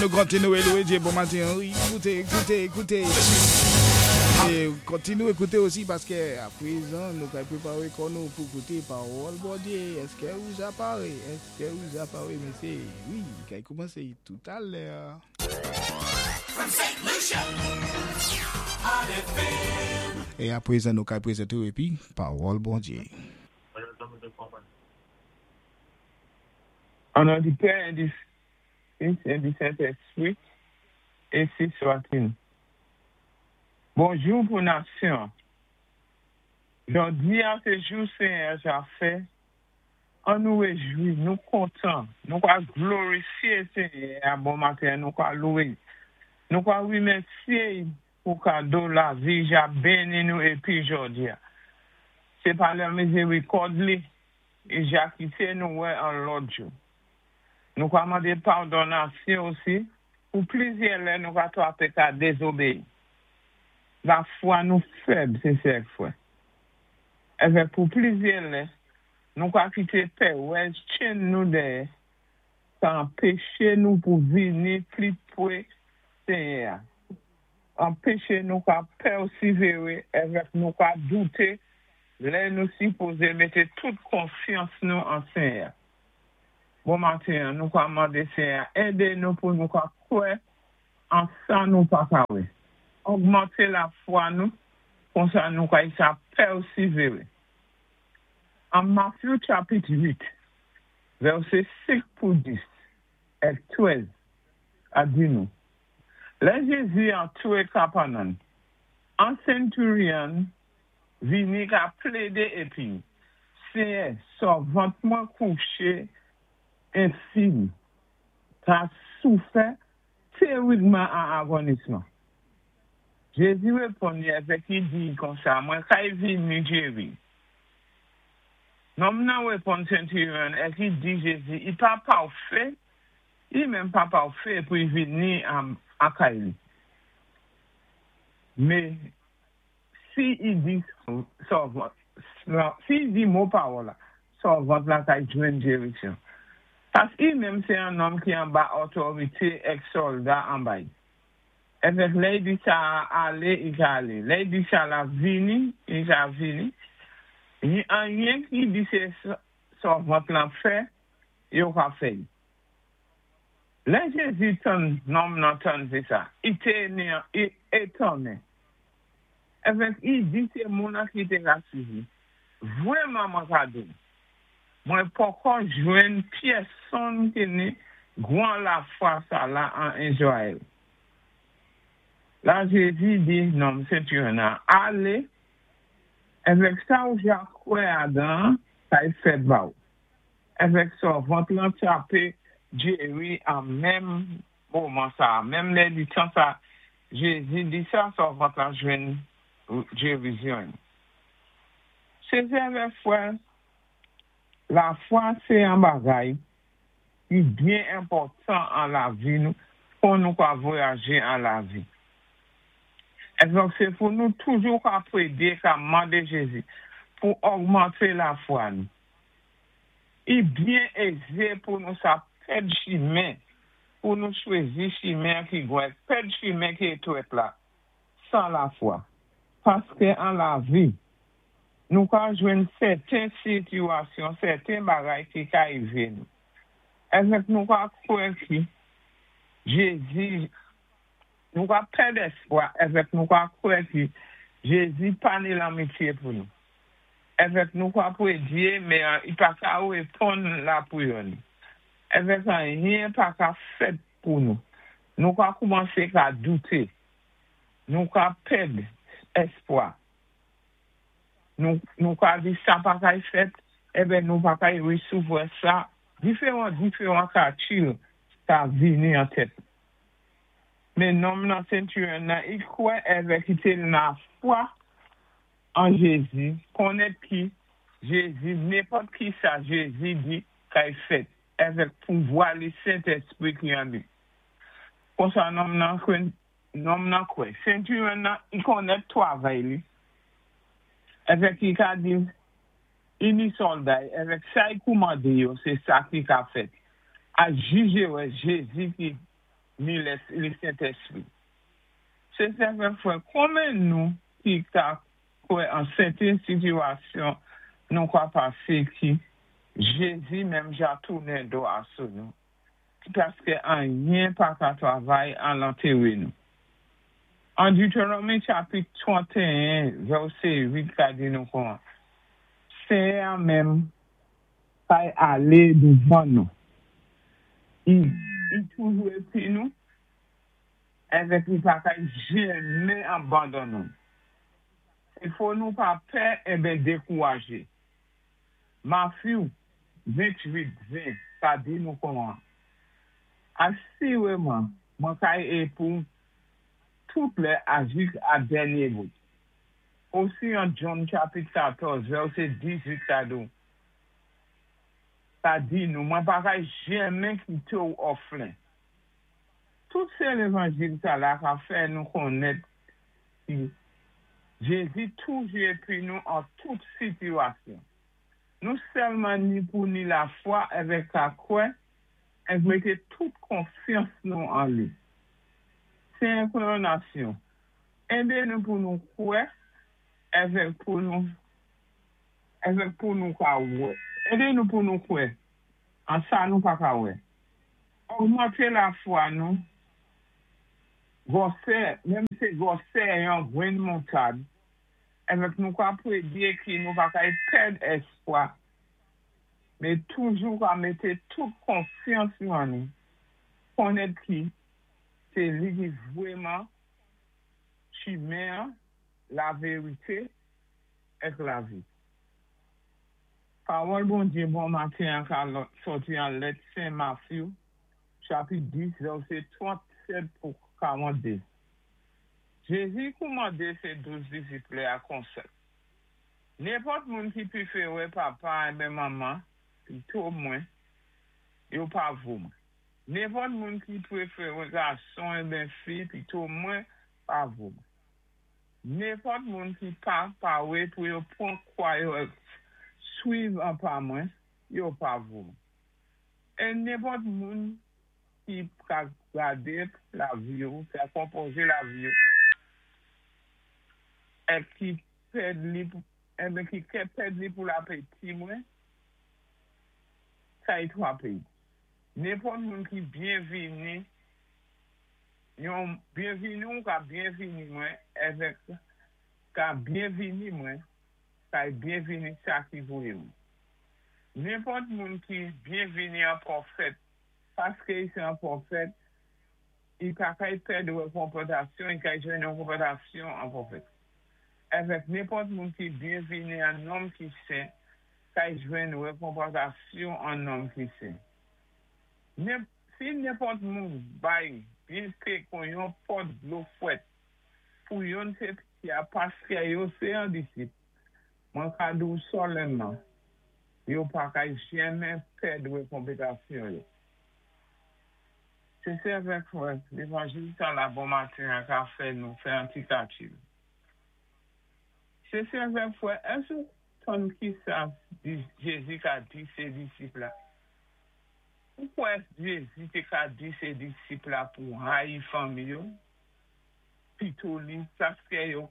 An nou kontinoué loué Djé bon matin wi ékouté ékouté ékouté é kontinoué ékouté osi paské a pwézan nou pral pwéparé kò nou pou kouté pawòl Bondye èské ou ja paré èské ou ja paré mesyé wi li kay koumansé toutalè. E a pwézan nou kay pwézanté ou épi pawòl Bondye. An non di Pè e di Fis e di Sentespri, ensi swa-t-il. Bonjou pou nasyon an. Jòdi a se jou Senyè a ja fè, an nou rejwi, nou kontan, nou ka glorifye Senyè a bon maten an, nou ka louwe l, nou ka remèsye l pou kado lavi ja beni nou epi jòdi a. Se pa lè mizerikòd li, e ja kite nou wè an lòt jou. Nou ka mande padon nasyon osi pou plizyè lè nou ka trape ka dezobeyi. Lafwa nou fèb se sè ak frè. Evèk pou plizyè lè nou ka kite pèrèz tchenn nou dèyè sa anpeche nou pou vini pli pre Senyè a. Anpeche nou ka pèsivere evèk nou ka doute lè nou sipoze mete tout konfyans nou an Senyè a. Bon maten an, nou ka mande Senyè a ede nou pou nou ka kwè an sa nou pa ka wè. Ogmante lafwa nou, konsa nou ka sa pèsivere. An Matthew chapit 8, vèsé 5 pou 10 èk 13 a di nou, Lè Jezi antre Kapènòm, an centurion vini ka plédé épi, Senyè, sèvant mwen kouché enfim, ka soufè tèribman an agonisman. Jezi réponn li avèk i di i konsa, Mwen kay vini jéri. Nonm nan réponn centurion èk i di Jezi, I pa pafé, i menm pa pafé pou i vini a kay li. Mé Si i di sèvant lan, si i di mo pawòl la, sèvant la kay jwenn jerisyon. Pask i menm sé an nonm ki anba òtòrité èk sòlda anba i. Èvèk lè i di sa a alé, i ka alé. Lè i di sa la vini, i ka vini. Anyen ki di sé sèvant lan fè, yo ka fè i. Lè Jézi tann nonm nan tann sé sa, i té étonnen. Evèk i di se moun an ki te ka swiv li. Vrèman mwen ka di w, mwen pòkò jwenn pyèsonn ki ni gwan lafwa sa la an Izrayèl. La Jezi di nonm sentuyon an, Ale, evèk sa w ja kwè adan an kay fèt ba w. Evèk sèvant lan trape Jeri an menm moman sa a, menm lè li tan sa Jezi di sa, sèvant lan jwenn gerizyon l. Sè avè frè, lafwa sé yon bagay ki byen enpòtan an lavi nou kon nou ka vwayaje an lavi. Èdonk sé pou nou toujou ka prédé ka mande Jezi pou ògmante lafwa nou. I byen ézé pou nou sa pèd chimen pou nou chwézi chimen ki gwen pèd chimen ki étwèt la san lafwa. Paské an lavi, nou ka jwenn sèten sitiyasyon, sèten bagay ki ka rivé nou. Èvèk nou ka kwè ki Jezi, nou ka pèd èspwa, èvèk nou ka kwè ki Jezi pa ni lanmityé pou nou. Èvèk nou ka pwédyé men i pa ka réponn lapriyè nou. Èvèk anyen pa ka fèt pou nou. Nou ka koumansé ka douté. Nou ka pèd èspwa. Nou nou ka di sa pa kay fèt, èbè nou pa kay resevwa sa. Diferan diferan kalkil ka vini an tèt. Men nonm nan centurion nan i kwè èvèk i té lafwa an Jezi, konnèt ki Jezi nenpòt kisa Jezi di kay fèt èvèk pouvwa li Sentèspri ki an li. Konsa nonm nan nonm nan kwè. Centurion nan i konnèt twavay li èvèk i ka di i ni sòlda y èvèk sa i koumande yo se sa ki ka fèt. A jije wè Jezi ki. Ni lé Sentèspwi. Sé sè avèk frè, konmen nou ki ka kwè an sèten sitiwasyon nou ka pasé ki Jézi menm ja tounen do a sou nou, ki paskè anyen pa ka travay an lantéwé nou. An Dutéwonòmi chapit 31 vèsé 8 ka di nou kon Senyè a menm kay alé douvan nou. I toujou épi nou, avèk li pa kay jenmen anbandon nou. I fò nou pa pè enben dékourajé. Matthew 28, 20 ka di nou kon an. Asiréman, mwen kay épou tout lè a jis a dènyé bout. Osi an John chapit 14 vèsé 18 ka di ka di nou, mwen pa kay jenmen kité ou òflen. Tout sé lévanjil sa la ka fè nou konnèt ki Jézi toujou épi nou an tout sitiwasyon. Nou sèlman ni pou ni lafwa avèk ka kwè èk mété tout konfyans nou an li. Senyè Kowonasyon, édé nou pou nou kwè avèk pou nou avèk pou nou ka wè. Édé nou pou nou kwè an sa nou pa ka wè. Ogmanté lafwa nou gwòsè, menm sé gwòsè yon grenn moutad, avèk nou ka prédyé ki nou pa kay pèd èspwa, mé toujou ka mété tout konfyans nou an li, konnèt ki sé li ki vwèman chimen an, lavérité èk lavi. Pawòl Bondyé bon maten an ka sòti an lèt Sen Matthew chapit 10 vèsé 37 pou 42. Jézi koumandé sé 12 disip li a konsa, Nenpòt moun ki pwéféré papa enben manman pito mwen, yo pa vo mwen. Nenpòt moun ki pwéféré gason enben fi pito mwen, pa vo mwen. Nenpòt moun ki pa pawé pou yo pwan kwa yo èk swiv an pa mwen, yo pa vo mwen. É nenpòt moun ki ka gadé lavi yo, ka konpozé lavi yo, èk ki pèd li, enben ki kè pèd li pou lapeti mwen, kay twapé. Nenpòt moun ki byenvini yon byenvini ou ka byenvini mwen avèk ka byenvini mwen kay byenvini sa ki voyé mwen. Nenpòt moun ki byenvini an pwofèt paské i sé an pwofèt, i pa kay pèd rékonpantasyon, i kay jwenn rékonpantasyon an pwofèt. Avèk nenpòt moun ki byenvini an nonm ki sen, kay jwenn rékonpantasyon an nonm ki sen. Si nenpòt moun bay byen pé kon yon pòt dlo fwèt pou yonn sé piti a paskè yo sé an disip, mwen ka di ou sòlènman, yo pa kay jenmen pèd rékonpantasyon yo. Sé sè avèk frè, lévanjil sa la bon maten an ka fè nou fè an ti kalkil. Sé sè avèk frè, èske ou tann ki sa Jézi ka di sé disip la? Ou kwè Jézi té ka di sé disip la pou rayi fanmi yo pito li paskè yo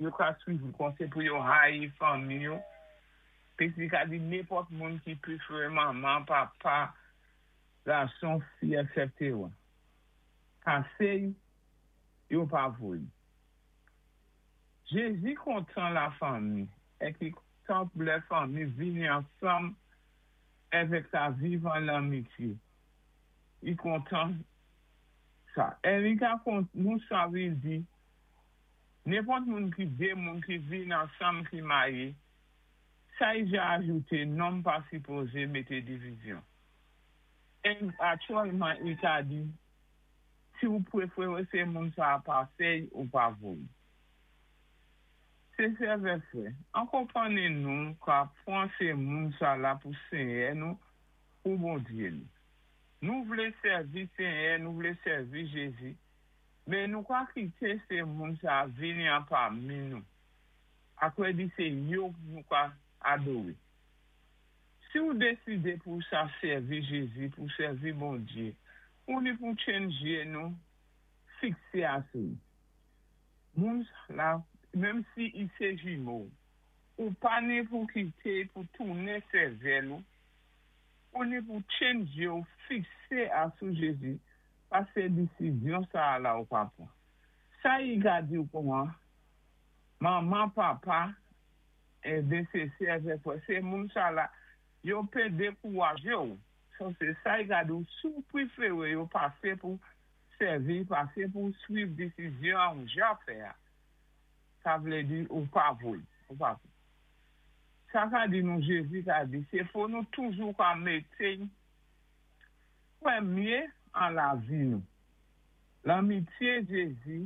yo ka swiv kon sé pou yo rayi fanmi yo? Pi li ka di nenpòt moun ki pwéféré manman, papa, gason, fi, etc. Pasé yo pa vo li. Jézi kontan lafanmi èk li kontan pou lè fanmi vini ansanm èvèk ka viv an lanmityé. Li kontan sa. È li ka kon nou sa vle di nenpòt moun ki dé moun ki vin ansanm ki maryé, sa i ja ajouté nonm pa sipozé mété divizyon. È aktyèlman i ka di si ou pwéféré sé moun sa a pasé y ou pa vo l. Sé sè avèk frè, an konpanni nou ka pwan sé moun sa la pou Senyè nou, pou Bondyé nou. Nou vlé sèvi Senyè, nou vlé sèvi Jézi, men nou ka kité sé moun sa a vini an pami nou, akwè di sé yo nou ka adoré. Si ou désidé pou sa sèvi Jézi, pou sèvi Bondyé, Ou ni pou tchenn jyé nou fiksé asou. Moun la, menm si i sé jimo, ou pa ni pou kité pou tounen sèvèl ou, ou ni pou tchenn jyé ou fiksé asou Jézi, pasé disizyon sa la ou pa pwan. Sa i ka di ou kouman, manman, papa, é sé sè avèk frè, sé moun sa la, yo pé dékouwajé ou. So sé sa i ka di ou, si ou pwéféré yo pasé pou sèvi, pasé pou swiv disizyon ou ja fè. Sa vlé di ou pa voy, ou pa voy. Sa ka di nou Jézi ka di, sé fò nou toujou ka mété pwémyé an lavi nou. Lanmityé Jézi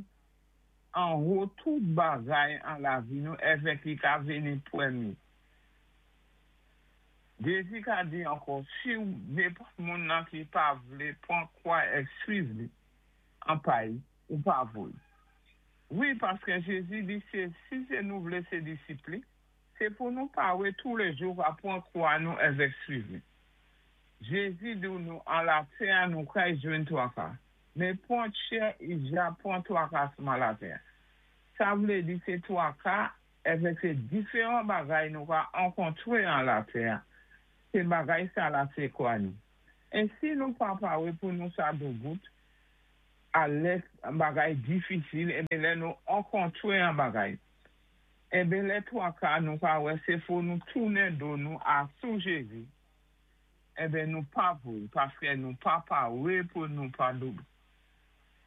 an wo tout bagay an lavi nou èvèk li ka vini pwémyé. Jézi ka di ankò, si ou nenpòt moun nan ki pa vlé pwan kwa èk swiv li an pay, ou pa voy. Wi, paské Jézi di sé, si sé nou vlé sé disip li, sé pou nou pawé touléjou ka pwan kwa nou èvèk swiv li. Jézi di nou an latè nou kay jwenn twaka, men pwan tchè i ja pwan twaka man latè. Sa vlé di sé twaka èvèk sé diféwan bagay nou ka ankontwé an latè. Sé bagay sa la sé kwa nou. É si nou pa pawé pou nou sa doubout, a lè bagay difisil, ébyen lè nou ankontwé an bagay. Ébyen lè twaka nou ka wè sé fò nou tounen do nou asou Jézi. Ébyen nou pa voy, paské nou pa pawé pou nou pa doubout.